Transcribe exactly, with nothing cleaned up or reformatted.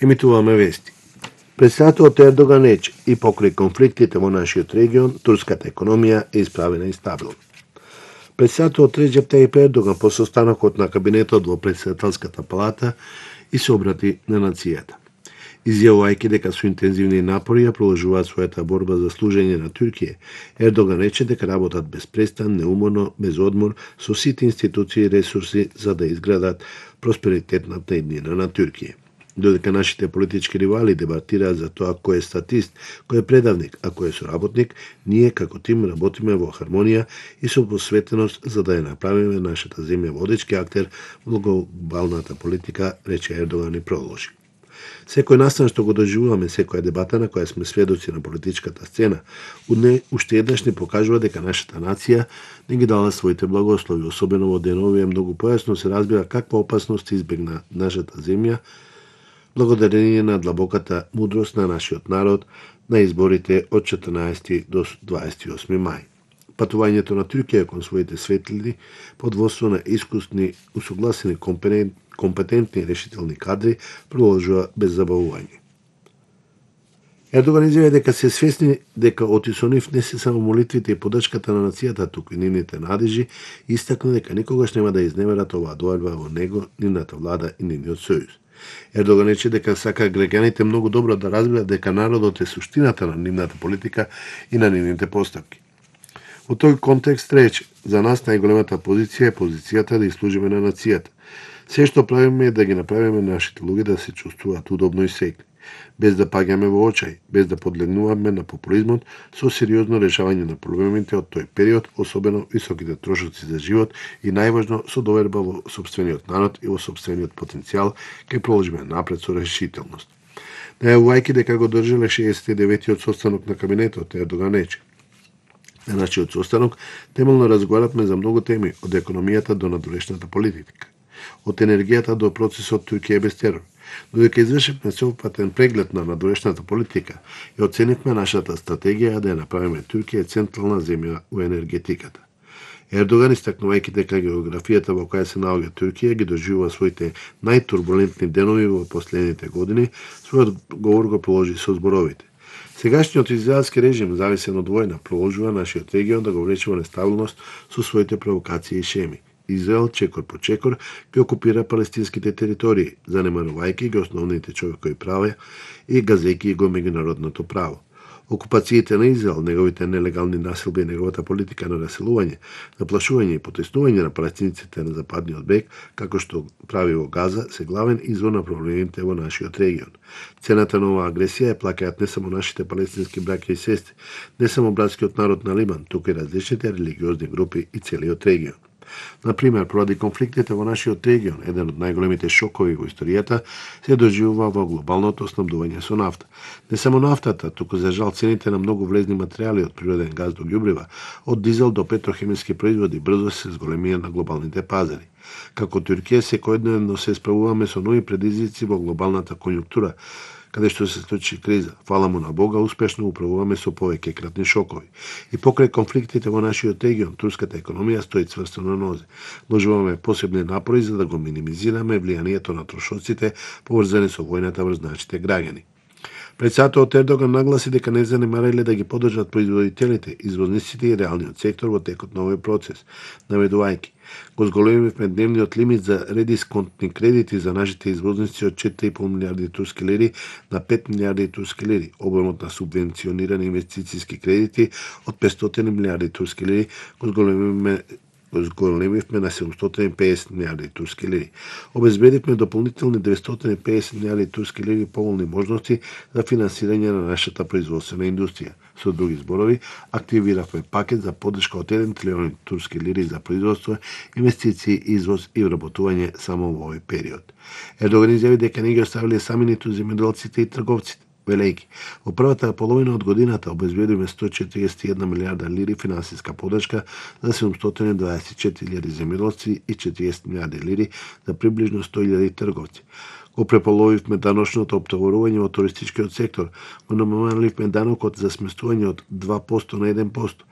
Емитуваме вести. Председателот Ердоган рече и покрај конфликтите во нашиот регион, турската економија е исправена и стабилна. Председателот Реджеп Тајип Ердоган по состанокот на кабинетот во председателската палата и се обрати на нацијата. Изјавувајќи дека со интензивни напори ја продолжуваат својата борба за служење на Туркија, Ердоган рече дека работат без престан, неуморно, без одмор, со сите институции и ресурси за да изградат просперитетната иднина на Туркија. Додека нашите политички ривали дебатираат за тоа кој е статист, кој е предавник, а кој е соработник, ние како тим работиме во хармонија и со посветеност за да ја направиме нашата земја водечки актер во глобалната политика, рече Ердоган и продолжи. Секој настан што го доживуваме, секоја дебата на која сме сведоци на политичката сцена, уште еднаш ни покажува дека нашата нација не ги дала своите благослови, особено во деновија многу појасно се разбира каква опасност избегна нашата земја, благодарение на длабоката мудрост на нашиот народ на изборите од четрнаесети до дваесет и осми мај. Патувањето на Туркија кон своите светлини под водство на искусни, усогласени, компетентни и решителни кадри продолжува без забавување. Ердоган изјави дека се свесни дека оти со нив не се само молитвите и подршката на нацијата, туку и нивните надежи, и истакна дека никогаш нема да изневерат оваа доајба во него, нивната влада и нивниот сојуз. Ердоган рече дека сака граѓаните многу добро да разберат дека народот е суштината на нивната политика и на нивните постапки. Во тој контекст рече, за нас најголемата позиција е позицијата да служиме на нацијата. Се што правиме е да ги направиме нашите луѓе да се чувствуваат удобно и секни, без да паѓаме во очај, без да подлегнуваме на популизмот, со сериозно решавање на проблемите од тој период, особено високите трошоци за живот и најважно со доверба во сопствениот народ и во сопствениот потенцијал, ќе продолжиме напред со решителност. Најавувајќи дека го држале шеесет и деветиот состанок на кабинетот, Ердоган рече: на нашиот состанок темелно разговаравме за многу теми, од економијата до надворешната политика, од енергијата до процесот Туркија без терор. Додека извршивме сеопфатен преглед на надворешната политика и оценивме нашата стратегија да ја направиме Туркија централна земја во енергетиката. Ердоган, истакнувајќи дека географијата во која се наоѓа Туркија ги доживува своите најтурбулентни денови во последните години, својот говор го положи со зборовите: сегашниот израелски режим, зависен од војна, продолжува нашиот регион да го влече во нестабилност со своите провокации и шеми. Израел, чекор по чекор, ги окупира палестинските територии, занемарувајќи ги основните човекови права и газејќи го меѓународното право. Окупациите на Израел, неговите нелегални населби и неговата политика на раселување, наплашување и потеснување на палестинците на западниот брег, како што прави во Газа, се главен извор на проблемите во нашиот регион. Цената на оваа агресија е плакаат не само нашите палестински браќа и сестри, не само братскиот народ на Либан, туку и различните религиозни групи и целиот регион. Например, поради конфликтите во нашиот регион, еден од најголемите шокови во историјата се доживува во глобалното снабдување со нафта. Не само нафтата, туку за жал цените на многу влезни материјали од природен газ до ѓубрива, од дизел до петрохемиски производи брзо се зголемија на глобалните пазари. Како Туркија секојдневно се справуваме со нови предизвици во глобалната конјунктура, каде што се случи криза. Фала му на Бога, успешно управуваме со повеќе кратни шокови. И покрај конфликтите во нашиот регион, турската економија стои цврсто на нозе. Вложуваме посебни напори за да го минимизираме влијанието на трошоците поврзани со војната врз нашите граѓани. Председателот Ердоган нагласи дека не занемариле да ги поддржат производителите, извозниците и реалниот сектор во текот на овој процес, наведувајќи: го зголемивме дневниот лимит за редисконтни кредити за нашите извозници од четири и пол милијарди турски лири на пет милијарди турски лири, обемот на субвенционирани инвестициски кредити од петстотини милијарди турски лири го зголемивме го зголемивме на седумстотини и педесет милијарди турски лири. Обезбедивме дополнителни деветстотини и педесет милијарди турски лири поволни можности за финансирање на нашата производствена индустрија. Со други зборови, активиравме пакет за поддршка од еден трилион турски лири за производство, инвестиции, извоз и вработување само во овој период. Ердоган изјави дека не ги оставиле сами ниту земјоделците и трговците, велејќи: во првата половина од годината обезбедиме сто и четириесет и една милијарда лири финансиска поддршка за седумстотини и дваесет и четири илјади земјоделци и четириесет милијарди лири за приближно сто илјади трговци. Го преполовивме даночното оптоварување во туристичкиот сектор, го намаливме данокот за сместување од два проценти на еден процент.